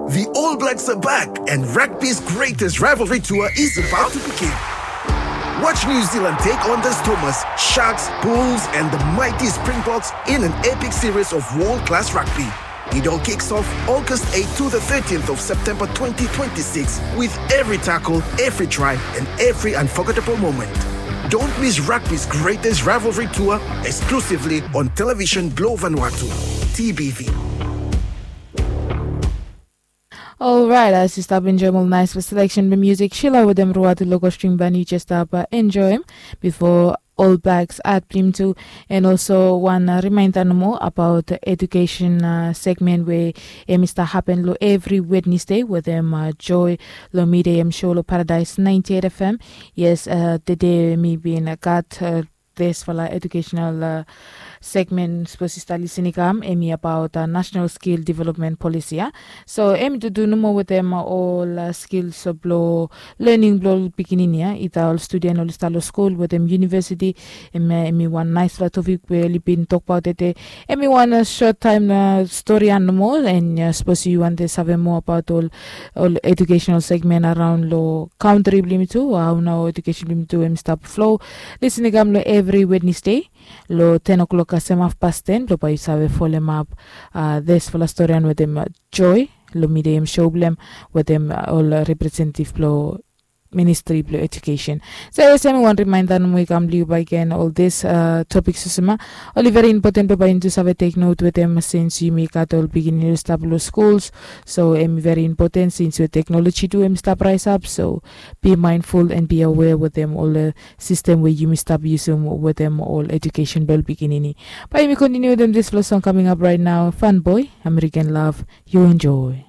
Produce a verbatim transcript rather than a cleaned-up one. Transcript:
The All Blacks are back, and rugby's greatest rivalry tour is about to begin. Watch New Zealand take on the Stormers, Sharks, Bulls, and the mighty Springboks in an epic series of world class rugby. It all kicks off August eighth to the thirteenth of September twenty twenty-six, with every tackle, every try, and every unforgettable moment. Don't miss rugby's greatest rivalry tour, exclusively on Television Globe Vanuatu, T B V. Olrait, as yu stap enjoim ol nais fo seleksen blong musik Shila wetem Ruatu Logo String Band, yu jes stap enjoim bifo All Blacks at blong yumi tu. And also wan remainda nomo abaot edukesen segmen we em i stap hapen long evri Wednesday wetem Joy long midei em show long Paradise ninety eight F M. Yes, tede mi bin gat disfala educational segment sapos yu stap lisin i kam, em i abaot national skill development policy ya. So em i tutu nomo wetem ol skills blong lening blong ol pikinini ya, ita ol studen oli stap long skul wetem yunivesiti. Em i wan naispela topik we oli bin tokbaot tede. Em i wan sot taim stori ya nomo, and sapos yu wantem save moa abaot ol ol educational segment araon long kantri blong yumi tu, hao nao edukesen blong yumi tu em i stap flo. Lisin i kam long evri Wednesday long ten o'clock kasem hafpas ten blong bae yu save folemap disfala storian wetem Joy long midei em show blong em wetem ol representetiv blong ministri blong edukesen. So yes, em i wan remainda nomo i kam long yu bakegen, ol dis topik olsem ya oli veri impoten blong bae yumi tu save tek not wetem, sins yumi gat ol pikinini oli stap long skuls. So em i veri impoten sins we teknoloji tu em i stap raesap. So be mindful and be aware wetem ol sistem we yumi stap yusum wetem ol edukesen blong ol pikinini. Bae yumi kontiniu wetem disfala song kaming ap raet nao, Fun Boy, American Love. Yu enjoy.